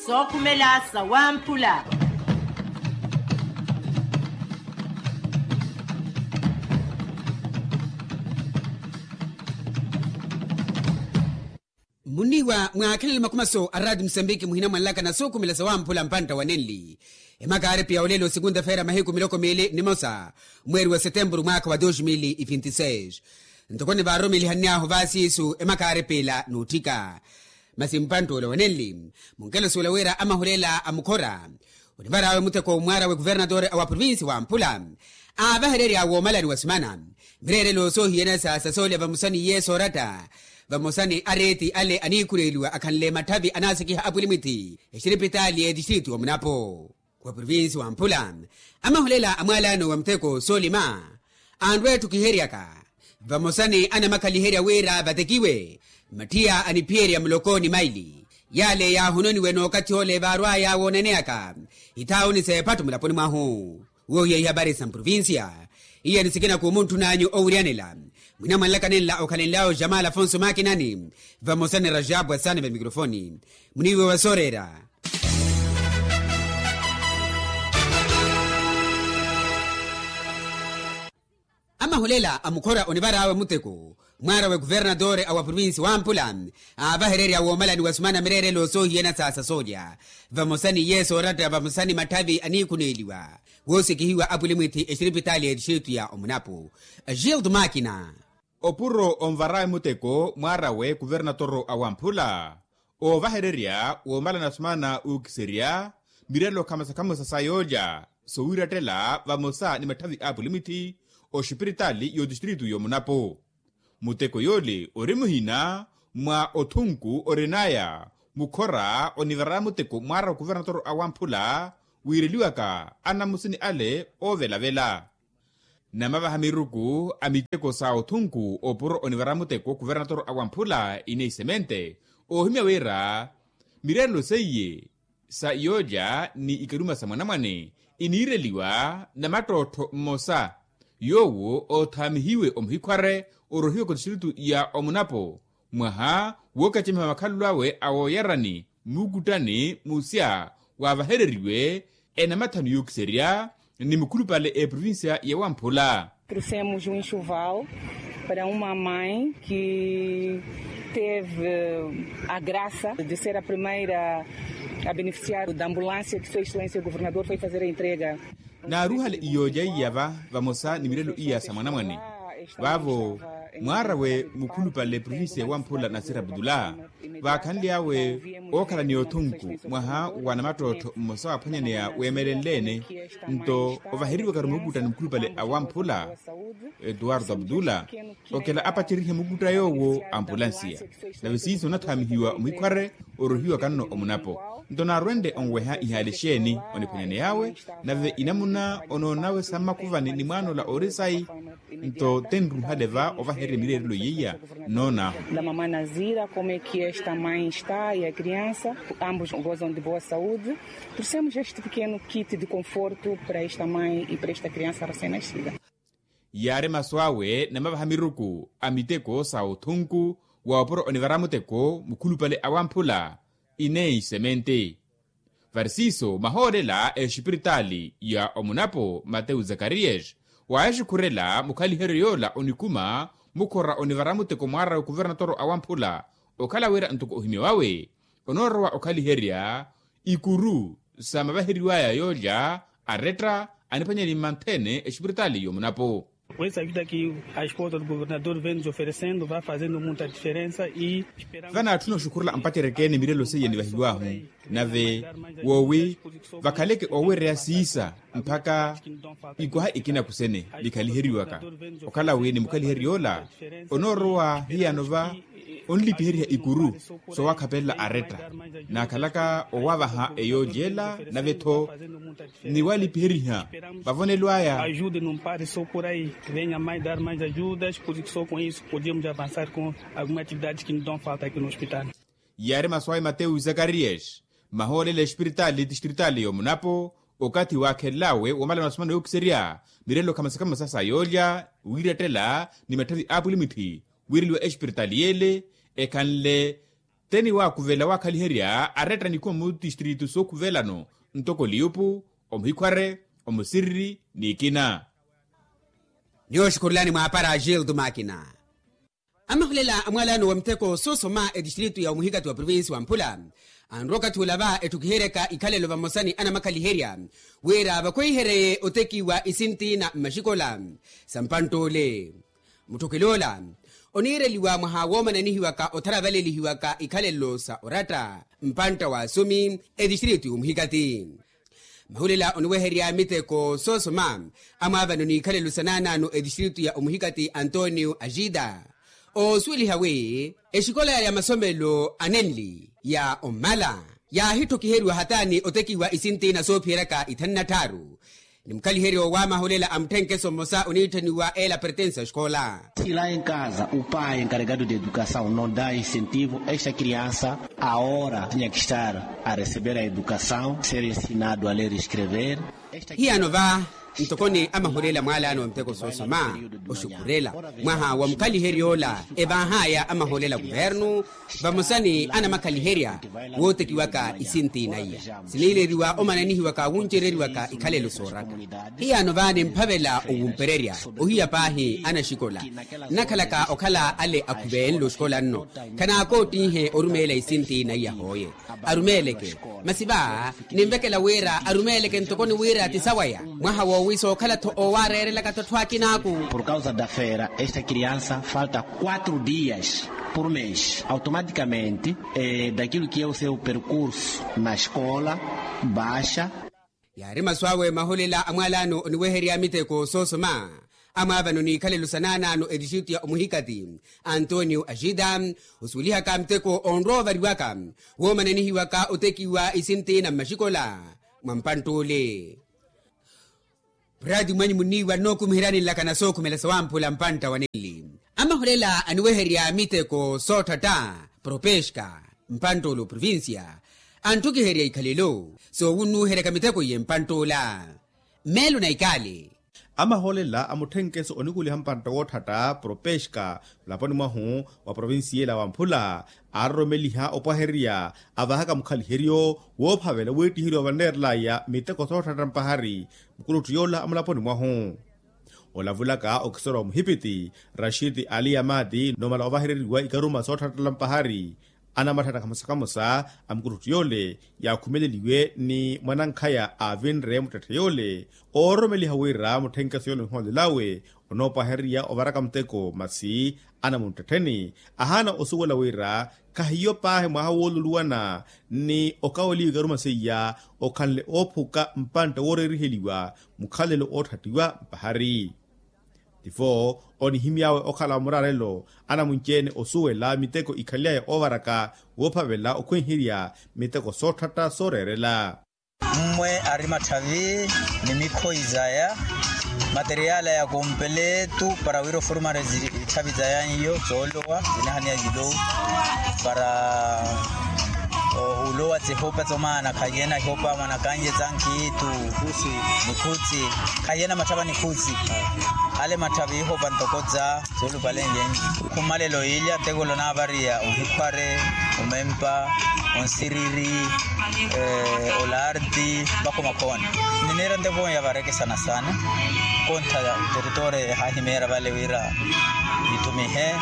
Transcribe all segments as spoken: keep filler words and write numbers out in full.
Sookhumela sawamphula. Muniiwa mwaakhelele makhumaso a raati musambiki muhina mwanlaka na sookhumela sawamphula mpantta wa nenli. Emakaaripi ya olelo sikunta feera mahiku miloko miili nimosa, mweeri wa setempuru mwaakha wa dos mil e vinte e seis. Ntoko nivaarumelihanny'ahu vaasiisu emakaaripi ila n'utthika. Masi mpantt'ula wenenli munkelosi wela wira amahulela a mukhora onivar'awe mutheko mwaar'awe kuvernatore a wa provinsi wamphula aavahererya woomalani wa simana mireerelo soohiyana sa sasoolya vamosa n'iye sooratta vamosa ni areeti ale aniikhureeliwa akhanle matthavi anaasikiha apwilimwithi exiripitaali y'etistritu omunapo. Wa provinsi wamphula amahulela a mwaalano wa mutheko soolima anrwa etthu kiheryaka vamosa ni anamakhaliherya wira vatekiwe mathiya aniphiyerya muloko ni maili yale yaahononiwe n'okathi ole vaarwaya woonaneyaka ithaawuni s'ephattu mulaponi mwahu. Woohiya ihapari sa mprovinsiya iya ni sikina khumuntthunaanyu owiryanela mwina mwanlaka nenla okhalenl'awe jamal afonso makinani vamosa ni rajabu asani va mikrofoni. Muniiwe wa sooreera. Amahulela a mukhora onivar'awe mutheko mwaar'awe kuvernatore a wa provinsi wamphula aavahererya woomalani wa simana mireerelo soohiyana sa sasoolya vamosa n'iye sooratta vamosa ni matthavi aniikhuneeliwa woosikihiwa apwilimwithi exiripitaali y'etistritu ya omunapo. Gildo makina. Opuro onvar'awe mutteko mwaar'awe kuvernatoro a wamphula oovahererya woomalana sumana ookiserya mirelo khamosa khamosa sa yoolya sowiirattela vamosa ni matthavi a apulimitthi oxipiritaali y'otistritu y'omunapo. Mutteko yoole ori muhina mwa othunku orin'aya mukhora onivara mutteko mwaar'awe kuvernatoro a wamphula wiireliwaka anamusini ale oovelavela. Namavaha miruku a mitteko sa othunku opuro onivara mutteko kuvernatoro a wamphula ineyi semente oohimya wira mirerelo seiye sa yoolya ni ikaruma sa mwanamwane iniireliwa namattottho mmosa yoowo oothaamihiwe omuhikhware orohiwaka otistritu ya omunapo mwaha wookacemiha makhalelo awe a wooyarani muukuttani musya waavahereriwe enamathanu yookiserya ni mukhulupale eprovincia ya wamphula. Trouxemos um enxoval para uma mãe que teve a graça de ser a primeira a beneficiar da ambulância que sua excelência governador foi fazer a entrega. Naaruhale iyooja iya va vamosa ni mirelo iya sa mwanamwane vaavo mwaarawe mukhulupale provincia wamphula nasira abdullah vaakhanly'awe ookhala ni othunku mwaha wa namattottho mmosa waaphwanyaneya weemelenle-ene nto ovaheriwaka-ru mukuttani mukhulupale a wamphula etuwarto abdullah okela apacerihe mukutta yoowo ampulansiya nave siiso onathaamihiwa omuhikhware orohiwaka nno omunapo nto naarwenle onweha ihaali exeeni oniphwanyaney'awe nave inamuna onoonawe sa mmakuvani ni mwaanola ori sayi nto tenruhale va ovahererya mireerelo yeiya nnoon'ahu. Da mamá nazira como é que esta mãe está e a criança ambos gozam de boa saúde. Trouxemos este pequeno kit de conforto para esta mãe e para esta criança recém nascida. Yaari masu awe namavaha miruku a miteko sa othunku wa opuro onivara muteko mukhulupale a wamphula ineyi semente. Varisiiso mahoolela exipiritaali ya omunapo matewu zakariyas waaxikhurela mukhaliheryo yoola onikuma mukhora onivara muteko mwaarawe kuvernatoro a wamphula okhala wira ntoko ohimya wawe onoorowa okhaliherya ikuru sa mavaheriwaya yoolya aretta aniphwanyani mmanthene exipiritaali y'omunapo. Essa vida que a esposa do governador vem nos oferecendo vai fazendo muita diferença e vanaatthuna oxukhurela mpacereke ni mirelo seiya nivahiw'ahu nave woowi vakhaleke oowereya siisa mpakha ikwaha ikina kusene nikhaliheriwaka okhala wi ni mukhaliheryo ola onoorowa hiyano va onlipiheriha ikuru soowakhapelela aretta naakhalaka owavaha eyoolya ela nave-tho ni walipiheriha vavonelo aya. Ajude num pare só por aí venha mais dar mais ajudas por isso só com isso podíamos avançar com alguma atividade que nos dão falta aqui no hospital. Yaari masu awe matewu zakarias mahoolela exipiritaali tixtiritaali y'omunapo okathi waakhelelawe woomalana osomana yookiserya mirelo khamosa khamosa sa yoolya wiirettela ni matthavi a apulimwithi wiireliwa exipiritaali y'ele ekhanle Teni waakuvela waakhaliherya aretta nikhuwa mutistritu sookuvelano, ntoko liyupu, omuhikhware, omusiriri n'ikina. Niyooxukhurulani mwaapara agildo makina. Amahulela a mwalano wa mitheko soosoma etistritu ya omuhikati wa provinsi wa mphula, anrowa okathi ula va etthukiheryaka ikhalelo vamosa ni anamakhaliherya wira vakhweiheryeye otekiwa isinti na mmaxikola sa mpantt'ule. Mutthukhil'ola oniireliwa mwaha woomananihiwaka otharavalelihiwaka ikhalelo sa oratta mpantta wa asumi etistritu ya omuhikati. Mahulela oniweherya miteko soosoma amwaavano n'ikhalelo sa naanaano etistritu ya omuhikati antonio agida, oosuweliha wi exikola ya masomelo anenli ya omala yaahitthokhiheriwa hataani otekiwa isinti na soophiyeryaka ithanu na tthaaru. Ni mukhaliheryo wa mahulela a mutthenkeso mmosa oniitthaniwa ela pertensa exikola. Sila enkaza upayi enkaregado de edukasaw no da incentivo esta kriansa, a hora tinha ke estar a receber a edukasaw ser ensinado a ler escrever. Hiyano va ntokoni amahulela mwalano wa miteko soosoma oxukhurela mwaha wa mukhaliheryo ola evaahaya amahulela kuvernu vamosa ni anamakhaliherya wootekiwaka isinti naiya siniileriwa omananihiwaka wuncereriwaka ikhalelo sooraka. Hiyano va nimphavela owumpererya ohiya paahi anaxikola nnakhalaka okhala ale akhuvenle oxikola nno khanaakootinhe orumeela isinti naiya hooye arumeeleke. Masi va ninvekela wira arumeeleke ntokoni wira ti sawaya mwaha woowi sookhala-tho oowaareerelaka-tho atthu akinaaku. Por causa da fera esta kriansa falta quatro dias por mes automaticamente daquilo que é o seu percurso na escola baixa. Yaari masu awe mahulela a mwalano oniweherya miteko soosoma amwaavano n'ikhalelo sa naanaano etistritu ya omuhikati antonio agida osuwelihaka miteko onrowa ovariwaka woomananihiwaka otekiwa isinti na mmaxikola mwa mpantt'ule. Prati mwanyu muniiwa nnookumiheryani nlakana sookhumela sawamphula mpantta wa nenli amahulela aniweherya miteko sootthatta propeska mpantt'ule oprovincia antthukiherya ikhalelo soowunnuweheryaka miteko iye mpantt'ula. Mmeelo na ikaali. Amaholela a mutthenkeso onikuliha mpantta wootthatta propeska mulaponi mwahu wa provinsiyela wa mphula aaroromeliha opwahererya avaahaka mukhaliheryo woophavela weettiheriwa vanneerelaya miteko sootthatta mpahari mukulutti yoola a mulaponi mwahu. Olavulaka okisora wa muhipiti rashid ali amadi noomala ovahereriwa ikaruma sootthattala mpahari anamatthana kamosa kamosa a mukulutti yoole yaakhumeleliwe ni mwanankhaya aavinre muttetthe yoole oororomeliha wira mutthenkeso yoole onhoolelawe onoopwahererya ovaraka muteko masi anamunttettheni ahaana osuwela wira khahiyo paahi mwaha wooluluwana ni okaweliwa ikaruma seiya okhanle oophuka mpantta wooreeriheliwa mukhalelo ootthattiwa mpahari. Tifo onihimy'awe okhala muraarelo anamunci-ene osuwela miteko ikhaly'aya oovaraka woophavela okhwenherya miteko sootthatta sooreerela. Mmwe ari matthavi ni mikhoyi zaya materiala ya kompeletu para wira ofurumari itthavi zaya n'iyo soolowa zinahaniya zilou para ulowa sihopa somaana khahiye na ihopa mwanakanye za nkhiitu nikhutsi khahiye na matthava nikhutsi ale matthavi ihopa ntoko za soolupalenlyenyi. Khumalelo ilya teko lonaavariya ohikhware omempa onsiriri olarti vakhomakhoni. Niniira nteko ya varekesana sana konttha teritoria ehaahimeera vale wira nithumihe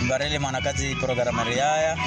nvarele mwanakazi porokarameru yaya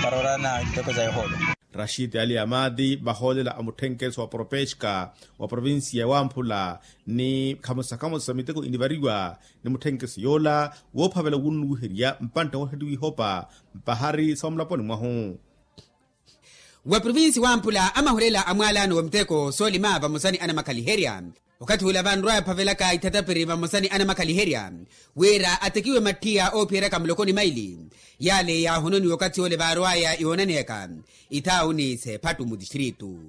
para orana iteko za yohoolo. Rashid ali amadi vahoolela a mutthenkeso wa propeska wa provinsiya wamphula ni khamosa khamosa miteko inivariwa ni mutthenkeso yoola woophavela wunnuwiherya mpantta wootthatiwa ihopa mpahari sa omulaponi mwahu. Wa provinsi wamphula amahulela a mwalano wa miteko soolima vamosa ni anamakhaliherya okathi ula vanrwa yaphavelaka ithatapiri vamosa ni anamakhaliherya wira atekiwe mattiya oophiyeryaka muloko ni maili yale yaahononiwa okathi ole vaarwaya yoonaneyaka ithauni s'ephattu mutistritu.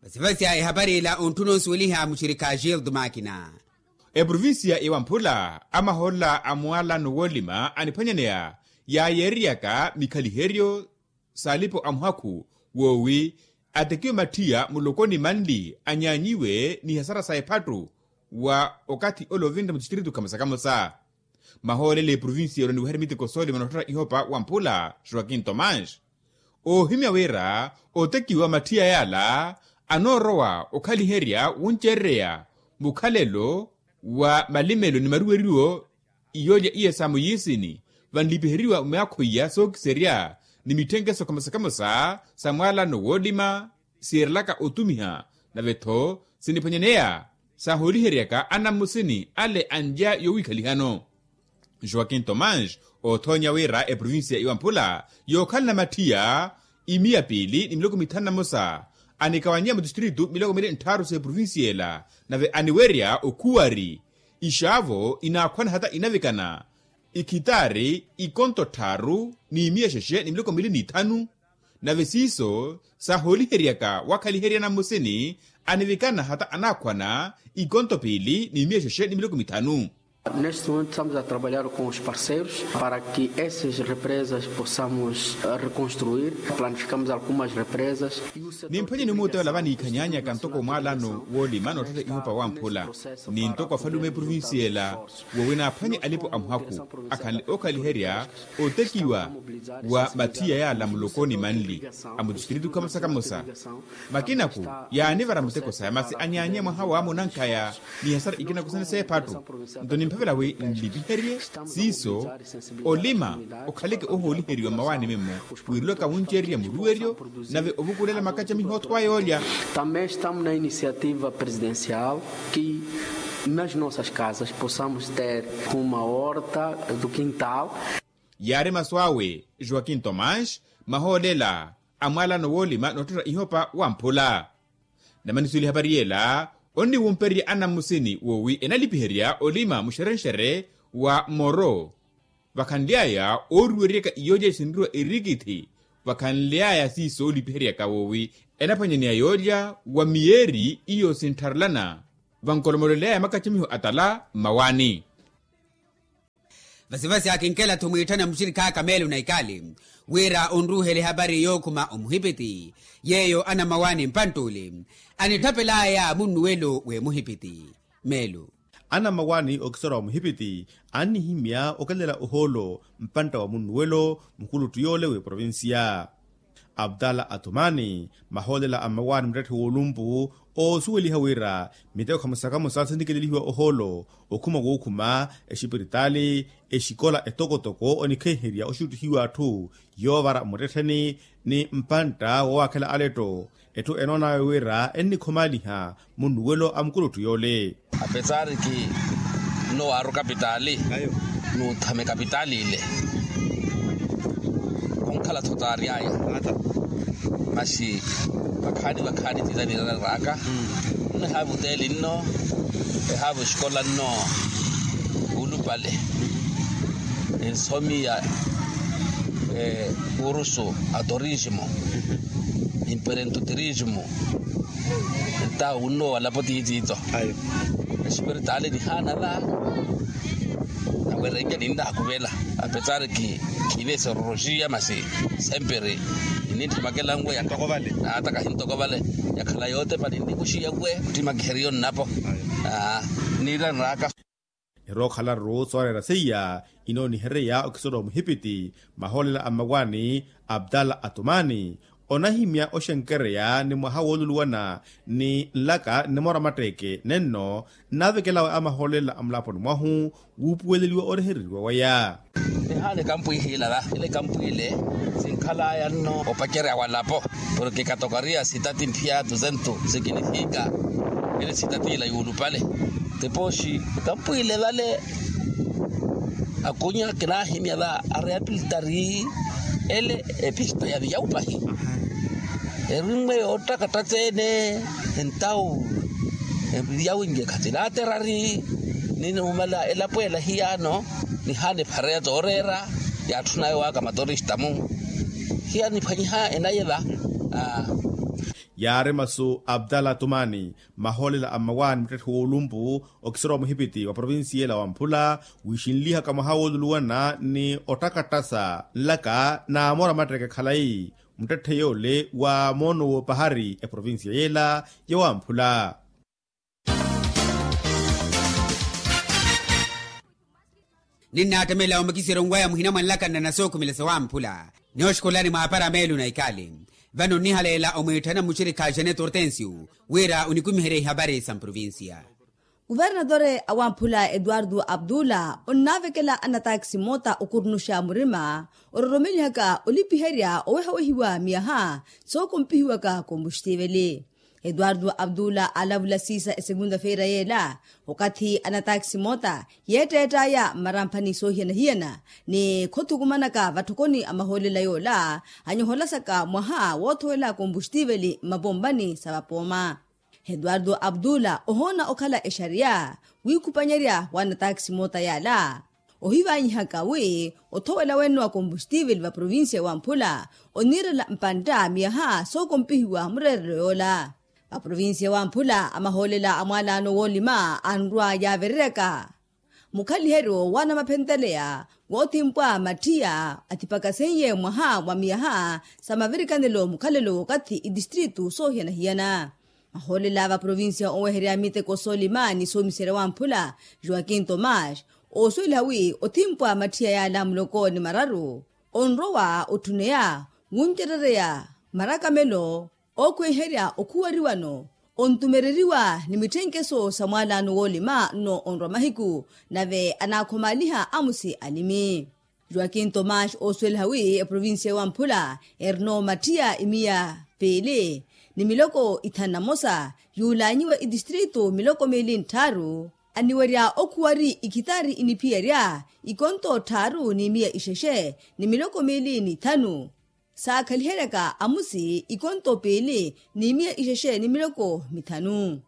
Vasivasya ehapari ila ontthuna onsuweliha muxirikha gildo makina. Eprovinsiya iwamphula amahoolela a mwalano woolima aniphwanyaneya yaayeereryaka mikhaliheryo s'alipo a muhakhu woowi atekiwe mattiya muloko ni manli anyaanyiwe ni hasara sa ephattu wa okathi ole ovinre mutistritu khamosa khamosa. Mahoolela eprovincia elo niweherya miteko soolima noottetta ihopa wamphula joaquin tomás, oohimya wira otekiwa mathiya yaala anoorowa okhaliherya wuncerereya mukhalelo wa malimelo ni maruweriwo. Iyoolya iya sa muyisini vanlipiheriwa myaakho iya sookiserya ni mitthenkese kamosa kamosa sa mwaalano woolima siirelaka otumiha, nave-tho siniphwanyaneya saahooliheryaka anammusini ale anlya yowiikhalihano. Joaquin tomás oothoonya wira eprovincia iwamphula yookhalana mathiya imiya piili ni miloko mithanu na mosa, anikawanyiya mutistritu miloko miili nttharu s'eprovincia ela, nave aniwerya okhuwari ixaavo inaakhwana hata inavikana ikhitaari ikonto tthaaru n'imiya xexe ni miloko miili n'ithanu. Nave siiso saahooliheryaka wakhaliherya nammusini anivikana hata anaakhwana ikonto piili n'imiya xexe ni miloko mithanu. Neste momento estamos a trabalhar com os parceiros para que essas represas possamos reconstruir, planificamos algumas represas. Nimphwanye ni omuuteya ola vaniikhanyaanyaka ntoko mwaalano woolima noottetta ihopa wamphula ni ntoko afalume eprovincia ela, woowi naaphwanye alipo a muhakhu akhanle ookhaliherya otekiwa wa mathiya yaala muloko ni manli a mutistritu kamosa kamosa. Makinaku yaanivara muteko saya masi anyaanye mwaha wa munankhaya ni hasara ikinaku sene seephattu. Nto nimphavela wi nlipiherye siiso olima okhaleke ohooliheriwa mmawaani mimmo, wiirulaka wuncererya muruweryo nave ovukulela makacamiho othowaya olya. Também estamos na iniciativa presidencial que nas nossas casas possamos ter uma horta do quintal. Yaari masu awe joaquin tomás mahoolela a mwaalano woolima noottetta ihopa wamphula. Namani suweli ehapari yeela onniwumpererya anammusini woowi enalipiherya olima muxerenxere wa moro vakhanly'aya ooruwereryaka iyoolya sinriwa erikithi. Vakhanly'aya siiso oolipiheryaka woowi enaphwanyaneya yoolya wa miyeeri iyo sinttharelana vankolomolel'aya makacamiho atala mmawaani. Vasivasi akinkela-tho mwiitthana muxirikhaaka meelo na ikali wira onruuhele ehapari yookhuma omuhipiti yeeyo anamawaani mpantt'ule anitthapel'aya munnuwelo w'emuhipiti. Meelo anamawaani okiserwa omuhipiti annihimya okelela ohoolo mpantta wa munnuwelo mukuluttu yoole w'eprovincia. Abdala atumani mahoolela a mmawaani muttetthe w'olumpu oosuweliha wira miteko khamosa khamosa sinikelelihiwa ohoolo okhuma wookhuma exipiritaali exikola etokotoko onikheherya oxuttihiwa atthu yoovara mmuttettheni ni mpantta wowaakhela aletto. Etthu enoon'awe wira ennikhomaliha munnuwelo a mukuluttu yoole. Apesari ki nno waaru kapitaali nuuthame kapitaali ile. Khunkhala-tho taary'aya masi vakhaani vakhaani tiiza niiraraka nno ehaava oteeli nno ehaava exikola nno. Wuulupale ninsomiya kurusu a turismo imperentuturismo. Nta wunno walapo tiitiito espiritaali nihaana va nawerenke ninnaakuvela apesari ki kiive sororoxiya masi semperi ninnitthimakela nwe yaka naata kahintoko vale yakhala yootepa ninnikuxiya nwe nttimakiheriyo nnapo. Niiranraka erookhala-ru sooreera seiya inoonihereya okisoro omuhipiti mahoolela a mmawaani abdala atumani onahimya oxenkereya ni mwaha wooluluwana ni nlaka nnimora matteeke nenno nnaavekel'awe a mahoolela a mulaponi mwahu wuupuweleliwa orehereriwa waya. Nihaana ekampwiihila va ile ekampwiile sinkhal'aya nno opacerya walapo porke katokariya sitati mphiya tusentu sikinifika ile sitati ila yuulupale. Tipooxi ekampwiile vale akunya kinaahimya va areapilitari ele epista ya viyawu pahi. Erinmwe yoottakatta tseene entawu eviyawu nje khatilaaterari ninumala elapo ela hiyaano nihaana ephareya tooreera yaatthun'aya owaaka matorista-mu hiya niphwanyiha enaye va. Yaari masu abdala tumani mahoolela a mmawaani muttetthe w'olumpu okisoro wa muhipiti wa provincia ela wa mphula wiixinlihaka mwaha wooluluwana ni ottakattasa nlaka naamora matteeke khalayi muttetthe yoole wa moono w'opahari eprovincia yela ya wamphula. Ninnaattamela omukisiro nwaya muhina mwa nlakanna na sookhumelesa wamphula. Nooxukhulani mwaapara meelo na ikali. Vano nnihaleela omwiitthana mmuxirikha janet hortensio wira onikumiherya ihapari sa mprovincia. Kuvernatore a wamphula eduardo abdula onnaavekela anataakisi moota okurnuxa murima ororomelihaka olipiherya owehawehiwa miyaha sookompihiwaka kombuxtiveli. Eduardo abdula aalavula siisa esegunta feira yeela okathi anataakisi moota yeetteett'aya mmaramphani soohiyana-hiyana ni khothukumanaka vatthokoni a mahoolela yoola anyoholasaka mwaha woothowela kombuxtiveli mmapompani sa vapooma. Eduardo abdula ohoona okhala exariya wiikhupanyerya wa anataakisi moota yaala ohivaanyihaka wi othowela wenno wa kombuxtiveli va provincia ya wamphula oniirela mpantta miyaha sookompihiwa mureerelo yoola. Va provincia ya wamphula amahoolela a mwaalaano woolima anrwa yaavereryaka mukhaliheryo wa anamaphentteleya woothimpwa mattiya athipakasenye mwaha wa miyaha sa mavirikanelo mukhalelo w'okathi itistritu soohiyana-hiyana. Mahoolela va provincia oweherya miteko soolima ni soomiserya wamphula joaquin tomas oosuweliha wi othimpwa mattiya yaala muloko ni mararu onrowa otthuneya wuncerereya marakamelo ookhweiherya okhuwariwano ontumereriwa ni mitthenkeso sa mwaalaano woolima nno onrwa mahiku nave anaakhomaaliha amusi alimi. Joaquin tomas oosuweliha wi eprovincia ya wamphula erino mattiya imiya piili ni miloko ithanu na mosa yuulaanyiwe itistritu miloko miili ntthaaru aniwerya okhuwari ikhitaari iniphiyerya ikonto tthaaru n'imiya ixexe ni miloko miili n'ithanu saakhaliheryaka amusi ikonto piili n'imiya ixexe ni miloko mithanu.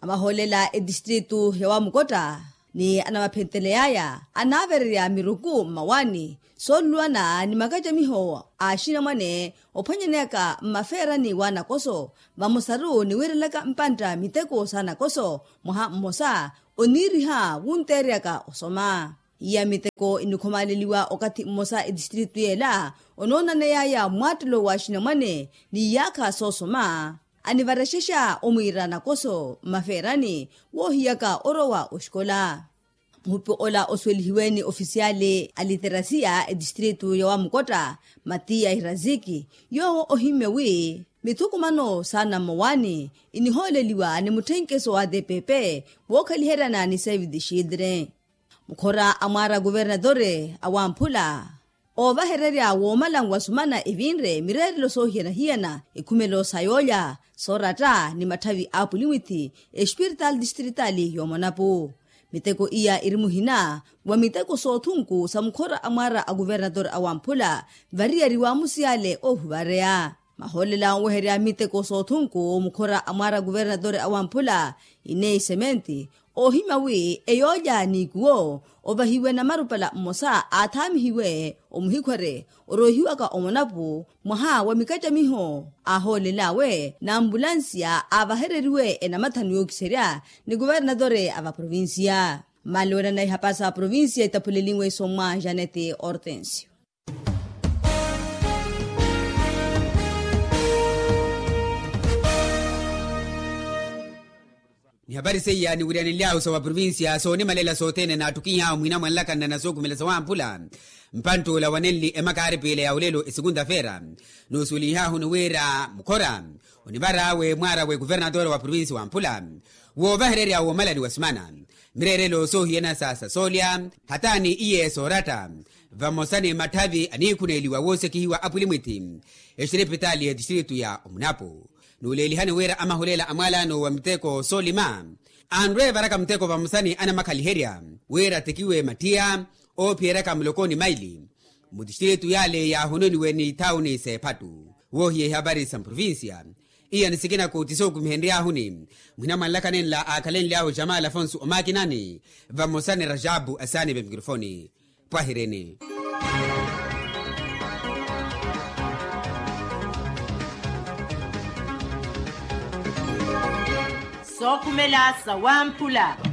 Amahoolela etistritu ya wamukotta ni anamaphenteley'aya anaavererya miruku mmawaani sooluluwana ni makacamiho a axinamwane ophwanyaneyaka mmafeerani w'anakoso vamosaru ni wiirelaka mpantta miteko s'anakoso mwaha mmosa oniiriha wunteereyaka osoma. Iya miteko inikhomaaleliwa okathi mmosa etistritu y'ela onoonaney'aya mmwaattelo w'axinamwane n'iyaakha soosoma anivarexexa omwiira nakoso mmafeerani woohiyaka orowa oxikola. Muhupi ola osuwelihiwe ni ofisiyaali a literasiya etistritu ya wamukotta matiya hiraziki yoowo ohimmye wi mithukumano s'anammowaani inihooleliwa ni mutthenkeso wa tpp wookhaliheryana ni save the children. Mukhora a mwaara a kuvernatore a wamphula oovahererya woomala nwasumana evinre mireerelo soohiyana-hiyana ekhumelo sa yoolya sooratta ni matthavi a apulimwithi espiritaali distritali y'omonapu. Miteko iya iri muhina wa miteko soothunku sa mukhora a mwaara a kuvernatore a wamphula variyari w'amusiyale oohuvareya. Mahoolela onweherya miteko soothunku mukhora a mwaara a kuvernatore a wamphula ineyi sementi oohimya wi eyoolya n'ikuwo ovahiwe namarupala mmosa aathaamihiwe omuhikhwere oroohiwaka omonapu mwaha wa mikacamiho aahoolel'awe n'ambulansiya aavahereriwe enamathanu yookiserya ni kuvernatore a vaprovinsiya. Mmaali weerana ihapasa a provinsiya itaphulelinwe isommwa janete hortensio. Ni hapari seiya niwiryanenly'ahu sa wa provinsiya soonimalela sothene naattukiny'ahu muhina mwa nlakanna na sookhumela sa wamphula mpantt'ula wanenli emakaari piila ya olelo esekunta feera noosuwelihahu ni wira mukhora onivar'awe mwaar'awe kuvernatore wa provinsi wamphula woovahererya woomalani wa simana mireerelo soohiyana sa sa soolya hata ni iye sooratta vamosa ni matthavi aniikhuneeliwa woosekihiwa apulimwithi exiripitaali ya tistritu ya omunapu. Nuuleelihani wira amahuleela a mwaalaano wa miteko soolima anrwe evaraka muteko vamosa ni anamakhaliherya wira atekiwe mattiya oophiyeryaka muloko ni maili mutistritu yale yaahononiwe ni thawuni s'ephattu woohiya ihavari sa mprovinsiya. Iya ni sikina kuti sookumihenry'ahuni muhina mwa nlaka nenla aakhalenly'ahu jamal afonso omakinani vamosa ni rajabu asaani vemikirofoni. Pwahirini. Sookhumela sa wamphula.